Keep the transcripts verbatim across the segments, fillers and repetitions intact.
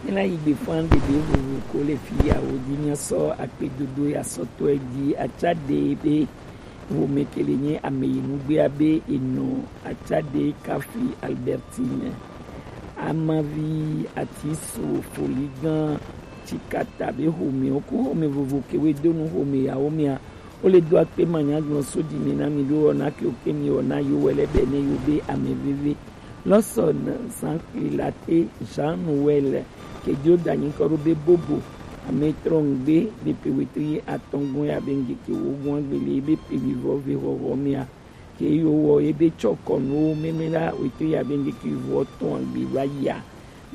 Ela yi gbe fan ɖeɖe vovo ko le fi ya wo di mia sɔ akpedodo ya sɔtɔ e di atsa ɖe be ƒome ke le nye ame yi nugbe abe enɔ atsa ɖe kafi Albertine. Amavi ati so foligan tsikata be ƒome wo ku ƒome vovo ke we do nu ƒome ya wo mia. Wo le do akpe manyagblɔ so di mi na mi ɖo wɔna ke wo ke mi wɔna yo wɛ lɛ bɛ ne yo be ame veve. Lawson Zanklilate Jean Noël, ke dio da nyikɔ ɖo be Bobo, ame trɔngbe be pe wetri atɔngɔn ya be ŋgeke wo gɔn agbele be pe wivɔ ve xɔxɔ mia. Ke yo wɔ ye be tsɔ kɔnu meme la wetri ya be ŋgeke vɔ tɔn agbe va ya.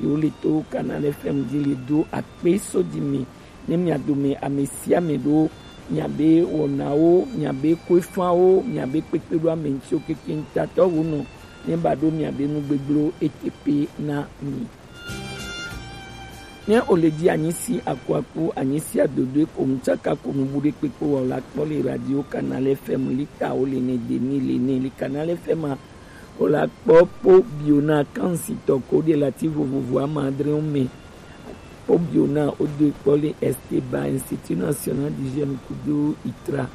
Yo le to Canal F M di le do akpe so di mi ne mia dome ame sia ame ɖo miabe wɔnawo, miabe koefawo, miabe kpekpeɖo ame ŋutiwo kekeŋ tatɔ wo nɔ ne ba ɖo miabe nugbegblẽwo eteƒe na mi. Ne o le di anyi si akuaku, anyi si adodoe ko ŋtsaka ko nubu ɖe kpekpe wa o la kpɔ le radio Canal F M lita wo le ne demi le ne le Canal F M a o la kpɔ po bio na kansitɔ ko ɖe lati vovovo ama adre wo me. Po bio na o do kpɔ le Esteba Institut National d'Hygiène kudo itra.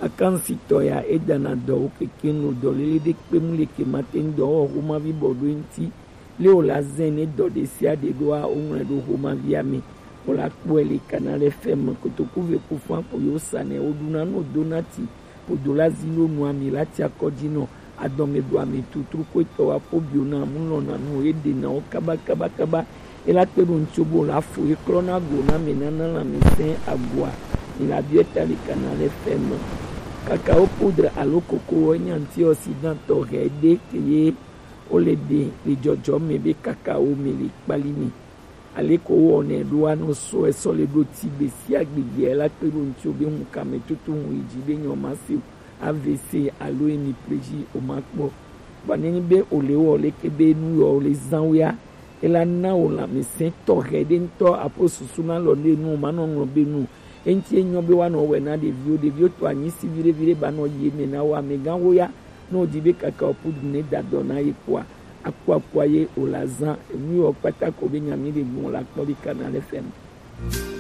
Akansitɔ ya e dana dɔ wo keke no dɔ lele ɖe kpe mu le ke ma te ŋdɔ wɔ xoma vi bɔ ɖo ŋti. Le o la zɛn ne dɔ ɖe sia ɖe ɖoa, o ŋlɔe ɖo xomavia me. O la kpɔe le Canal F M kotoku ve ku fã ko yo sa nɛ o ɖuna no do na ti. Podo la zi lo nu ami la ti akɔ dzi nɔ adɔme ɖo ame tutru ko etɔ wa po bio na mu lɔ na nu e ɖe na wo kaba kaba kaba. E la kpe ɖo ŋtso bo la fo e klɔ na go na me na na la me sɛn agoa. Mi la biɔ ta le Canal F M. Kakao poudre alo koko wɔ nya antioxydant tɔxɛ ɖe ke ye o le ɖe le dzɔdzɔ me be kakao me le kpali mi. Ale ko wɔnɛ ɖo anɔ sɔe sɔ le ɖo ti gbe sia gbe gbea la kpe ɖo ŋtsi be ŋu kame tutu ŋu yi dzi be nyɔ ma se o. A V C alo hemiplégie o ma kpɔ. Vɔ ne nyi be o le wɔ leke be nu yɔ o le zan wea, e la na o lãmesẽ tɔxɛ ɖe ŋutɔ aƒo susu na lɔ ne nu o ma nɔ ŋlɔ be nu. Eŋuti enyɔ be woanɔ wɔe na ɖeviwo, ɖeviwo to anyi si viɖe viɖe ba nɔ yi eme na wo. Amegãwo ya, ne wodi be kakao poudre ne da dɔ na ye kpɔa, akuakua ye wòle azã. Enu yiwo kpata ko be nya mi ɖe gbɔn la kpɔ ɖi Canal F M.